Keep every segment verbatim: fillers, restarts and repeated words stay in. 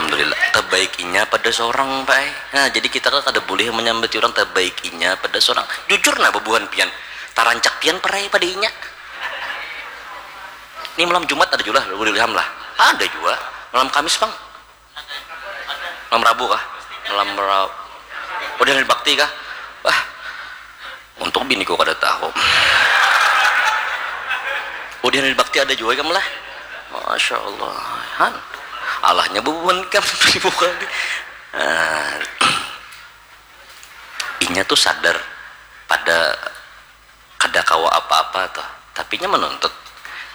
Alhamdulillah, tabaik inya pada sorang, Pak ai. Nah, jadi kita kan kada bulih manyambati urang tabaik inya pada sorang. Jujur nah, bubuhan pian, tarancak pian parai pada inya. Ni malam Jumat ada jua lah, Nurul Ilham lah. Ada jua. Malam Kamis pang. Malam Rabu kah? Malam Rabu. Udah hari bakti kah? Wah, untuk biniku kada tahu. Udah hari bakti ada jua ikam lah. Masya Allah. Han. Allahnya bubuhan kam dibuka ni. Nah, inya tuh sadar pada kada kawa apa-apa tuh. Tapi nya menuntut.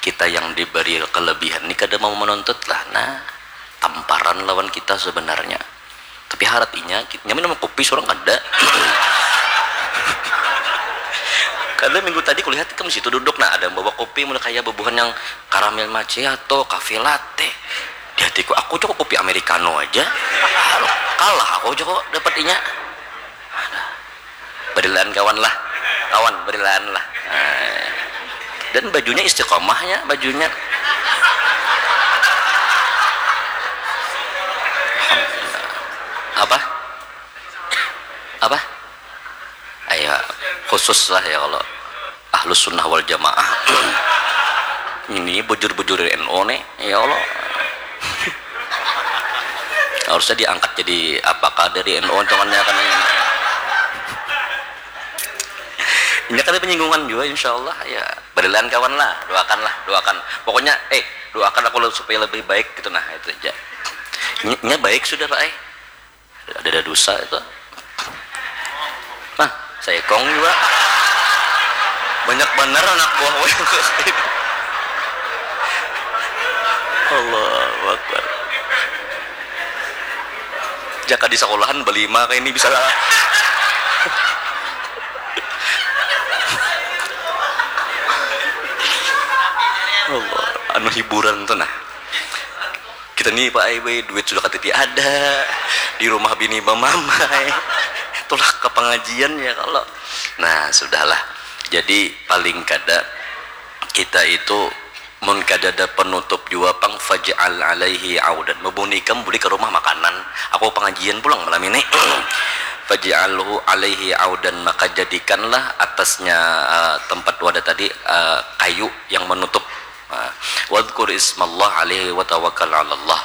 Kita yang diberi kelebihan ni kada mau menuntut lah. Nah, tamparan lawan kita sebenarnya. Tapi harat inya, ki-, nya minum kopi, surang kada. Kada, minggu tadi kulihat ikam situ duduk, nah, ada yang bawa kopi, mulai kaya bubuhan yang karamel macchiato, cafe latte. Di hatiku, aku jua kopi americano aja. Kalah aku jua dapat inya. Barilaan kawan lah. Kawan, barilaan lah. Nah. Dan bajunya istiqomah ya, bajunya. Apa? Apa? Ayo, khusus lah ya kalau Ahlus Sunnah wal Jamaah. Ini bujur-bujur N U nih, ya Allah. Harusnya diangkat jadi apakah dari N U, untungannya kan ini. Ini kada penyinggungan juga, insya Allah. Ya, barilaan kawan lah, doakan lah, doakan. Pokoknya, eh, doakan aku supaya lebih baik gitu, nah, itu aja. Nya baik sudah, Pak, eh. Ada, ada dosa itu. Nah, saya kong juga. Banyak benar anak buah. Allahu Akbar. Jaka di sekolahan berlima kayak ini bisa lah. Allah, anu hiburan tuh nah. Kita ni, Pak ai, duit sudah K T P ada, di rumah bini bamamai, tulak ke pengajian ya kalau. Nah, sudahlah. Jadi paling kada kita itu mun kada ada penutup jua pang, faj'al alaihi audan. Mabuni ikam buli ke rumah makanan. Aku pengajian pulang malam ini. Faj'alhu alaihi audan, maka jadikanlah atasnya uh, tempat wadah tadi uh, kayu yang menutup. Nah, wadkur ismallah alaihi wa tawakkal alallah.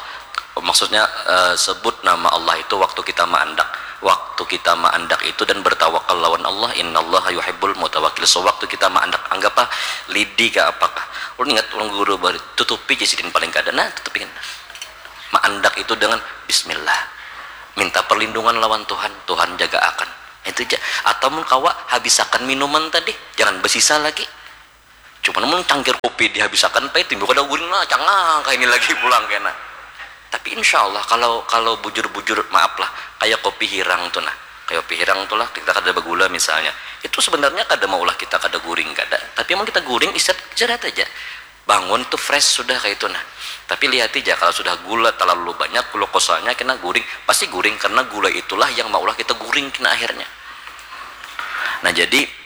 Maksudnya uh, sebut nama Allah itu waktu kita maandak. Waktu kita maandak itu dan bertawakal lawan Allah, innallaha yuhibbul mutawakkil. Sewaktu kita maandak, anggaplah lidi kah apakah. Ulun ingat orang guru bari, tutupi ja sidin paling kada. Nah, tutupi kan. Maandak itu dengan bismillah. Minta perlindungan lawan Tuhan, Tuhan jaga akan. Itu aja. Atau mun kawa habisakan minuman tadi, jangan besisa lagi. Cuman mun cangkir kopi dihabisakan, pai timbul kada guring lah, cangang kaini lagi pulang kena. Tapi insya Allah kalau kalau bujur-bujur maaf lah, kayak kopi hirang tuh nah, kayak kopi hirang tuh lah kita kada bagula misalnya, itu sebenarnya kada maulah kita kada guring kada, tapi emang kita guring istirahat istirahat aja, bangun tuh fresh sudah kayak itu nah. Tapi lihat aja kalau sudah gula terlalu banyak, glukosanya kena guring, pasti guring karena gula itulah yang maulah kita guring kena akhirnya. Nah jadi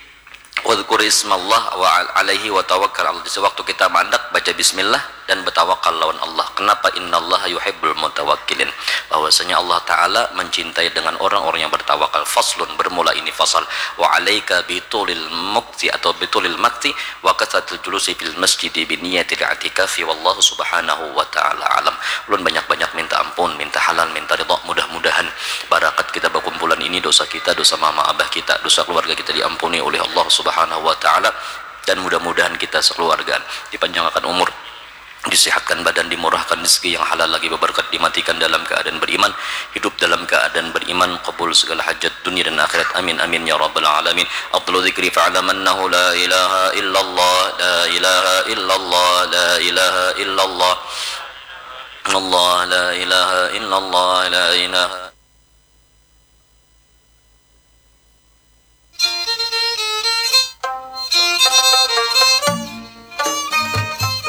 Wadhkur ismallah wa al-, alaihi wa tawakkal ala. Sewaktu kita mandak, baca bismillah dan bertawakal lawan Allah. Kenapa? Innallaha yuhibbul mutawakkilin. Bahwasanya Allah Ta'ala mencintai dengan orang-orang yang bertawakal. Faslun, bermula ini fasal. Wa alaika bitulil mukti atau bitulil makti wa kathratul julusi fil masjidi bi niyatil i'tikafi wallahu subhanahu wa ta'ala alam. Ulun banyak-banyak minta ampun, minta halal, minta ridha. Mudah-mudahan barakat kita bakumpulan ini, dosa kita, dosa mama abah kita, dosa keluarga kita diampuni oleh Allah Subhanahu wa taala, dan mudah-mudahan kita sekeluarga dipanjangkan umur, disehatkan badan, dimurahkan rezeki yang halal lagi berberkat, dimatikan dalam keadaan beriman, hidup dalam keadaan beriman, kabul segala hajat dunia dan akhirat. Amin amin ya rabbal alamin. Afdalu dzikri fa'lam annahu la ilaha illallah, la ilaha illallah, la ilaha illallah. Allah, la ilaha illallah, la ilaha.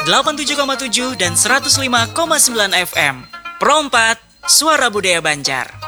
Delapan tujuh koma tujuh dan seratus lima koma sembilan F M. Pro empat, Suara Budaya Banjar.